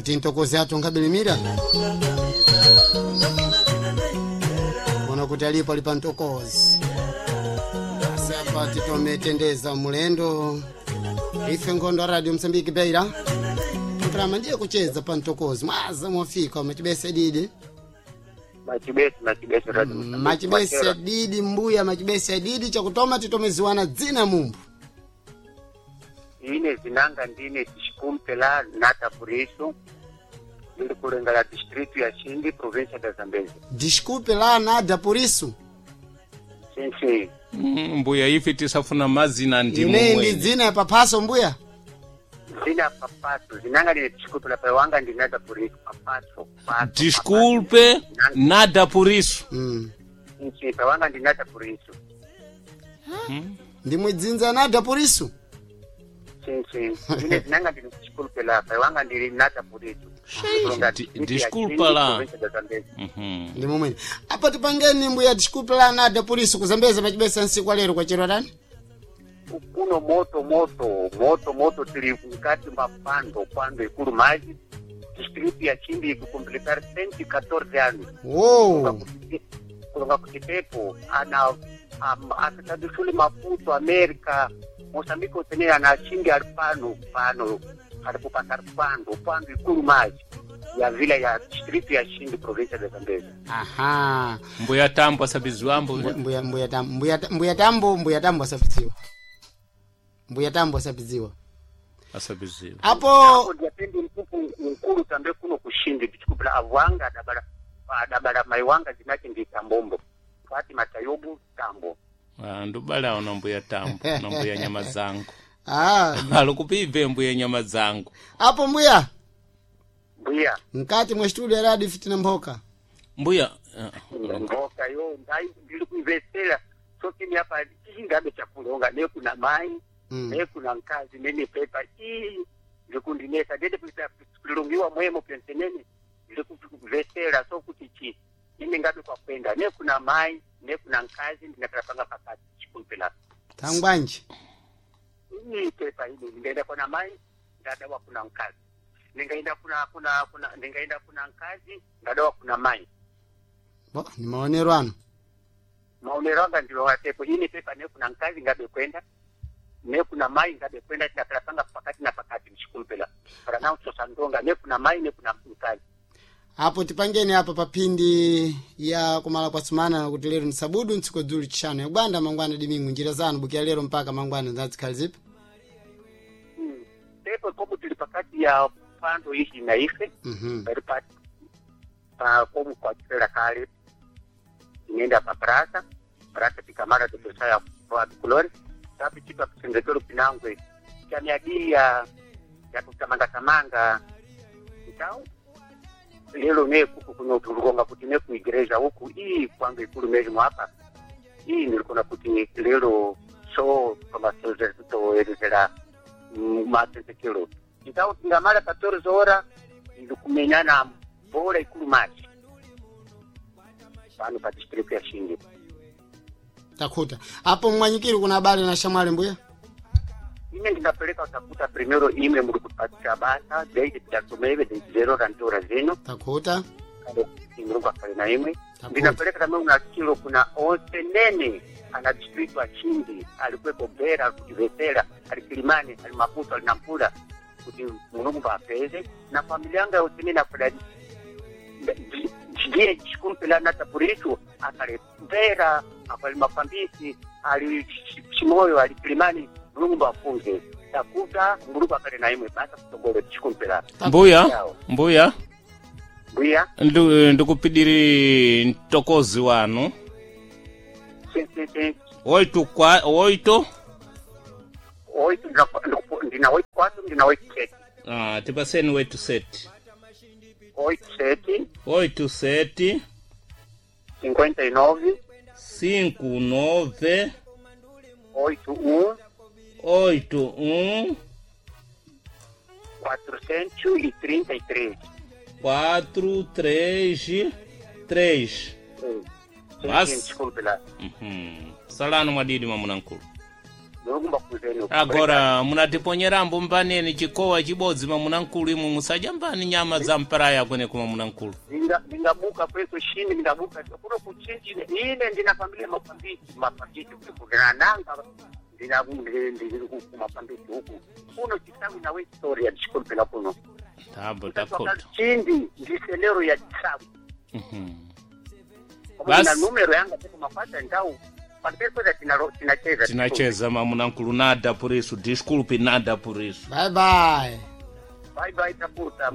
Kuti ntokozi athu nkabilimira ona kuti alipo ali pa ntokozi. Asi apa titometendeza mulendo ife nkhondo a Radio Msambiki Beira mprama ndiye kucheza pa ntokozi mwaza mwafika machibese didi. Machibesi, machibesi Radio Mozambique. Machibese didi mbuya machibese didi chakutoma titomeziwana dzina mumbu. Ine zinanga ndine tishikumpela nata purisu ndiri kulenga la distritu ya Chindi, província da Zambezi. Desculpe lá nada por isso. Sim, sim. Mbuya ife tisafuna mazina ndimo Ine ndi mwene. dzina ya paphaso mbuya. Zina papato zinanga ndine tishikumpela paiwanga ndi nata purisu papato pato. Desculpe nada por isso. Sim, sim, paiwanga ndi nata purisu. Ndimwe dzinza nada por isso. Sim, sim. Ine zinanga ndine tishikumpela paiwanga ndiri nata purisu. Desculpa lá. Ndi momwene apa tipangeni mbuya desculpe lá nada por isso kuzambeza machibesa nsiku alero kwa chero tani. Kuno moto moto moto moto tili mkati mwa pando pando ikulu maji distritu ya Chindi ikukompletar 114 anos. Wo. Kulonga kuti pepo ana akatadusule Maputo, Amerika, Moçambique otene ana Chindi ali pano pano alipopasa pando pando ikulu maji ya vila ya distritu ya Chindi, província de Zambezi. Aha. Mbuya tambo asabiziwambo. Mbuya mbuya tambo mbuya mbuya tambo mbuya tambo asapidziwa. Mbuya tambo asapidziwa. Asabiziwa. Apo Apo ndiapendi mkuku mkulu tambe kuno kushindi tichikupula avwanga adabala adabala maiwanga zinake ndi Tambombo Fatima Tayobu Tambo. Ah, ndubala ona mbuya tambo na mbuya nyama zangu. Ah, Alikupive mbuya nyama zangu. apo mbuya Mbuya mkati mwa studio ya radio fitina mphoka. Mbuya mboka yo ndai ndiri kuivesera sokini apa chingabe chakulonga ne kuna mai ne kuna nkazi nene pepa ii ndikundinesa ndete kulongiwa mwemo pensenene ndiri kuvesera so kuti chi ine ngabe kwakwenda ne kuna mai ne kuna nkazi ndinakala pakati chikumpela. Tangwanji. Iyi pepa ine ndingaenda kuna mai ndadawa kuna nkazi, ndingaenda kuna kuna kuna ndingaenda kuna nkazi ndadawa kuna mai. Bo, ni maonero ano. Maonero anga ndilo watepo ine pepa ne kuna nkazi ngabe kwenda ne kuna mai ngabe kwenda tinapelapanga pakati na pakati mshikumpela para nao tosandonga ne kuna mai ne kuna nkazi. Apo tipangeni apa papindi ya kumala kwa sumana kuti lero ni sabudu ntsiku dzulu chishanu yakubanda mangwana dimingu njira zanu bukia lero mpaka mangwana zazikhali zipi. Pepo komu tili pakati ya pando ishi na ife pali pa pa komu kwa chifela kale inenda pa prasa prasa tikamara tutosaya kwa kulori tapi chipa kusendekero pinangwe chamiadii ya ya kutamanga tamanga então lelo ne kuku kuno tulikonga kuti ne kuigreja huku ii kwangu ikulu mesmo hapa ii nilikona kuti lelo so toelezera matendekero então tingamala 14 horas ndikumenyana bola ikulu machi pano pa district ya Xingi. Takhuta apo mwanyikiri kuna habari na shamwali mbuya. Ine ndinapeleka utakuta primero ime muri kupatika basa deite tidatomeve de rantora zino. Takhuta. Imurungu akale na imwe. Takhuta. Ndinapeleka tamwe una kilo kuna onse nene ana district wa Chindi alikuwepo Bera kutivesera ali Kilimani ali Maputo ali Nampula kuti Mulungu apeze na familia yanga yose nene akola ndiye chikumpela na tapurichu akale Bera akali Mafambisi ali Chimoyo ali Kilimani Mulungu afunze takuta Mulungu akale na imwe basa kutogole chikumpela. Mbuya mbuya Mbuya. Ndikupidiri mtokozi wanu. Sim, sim, sim. Oito kwa oito. Oito, ndina oito quatro, ndina oito sete. Ah, tipaseni oito sete. Oito sete. Oito sete. 59. 5 9. 8 1. 8 1. 433. 4 3 3. Sim, Mas- sim, desculpe lá. Salano mwadidi mwamuna nkulu. Mulungu mbakuzeni. Agora munatiponyerambo mbaneni chikowa chibodzi mamunankulu imwe musadya mbani nyama za mparaya kwene kuma munankulu. Ndingabuka kweso shini ndingabuka kuno kuchinji ine ndina familia mapambiti mapambiti ndinananga ndina ndiri kumapambiti huku kuno chisawi nawe story ya disculpe kuno. Tambo takota. Chindi ndiselero ya chisawi. Bas. Na numero yanga tuko mapata ndau pampepo tinacheza. Tinacheza mamunankulu nada por isso, desculpe nada por isso. Bye bye. Bye bye takuta.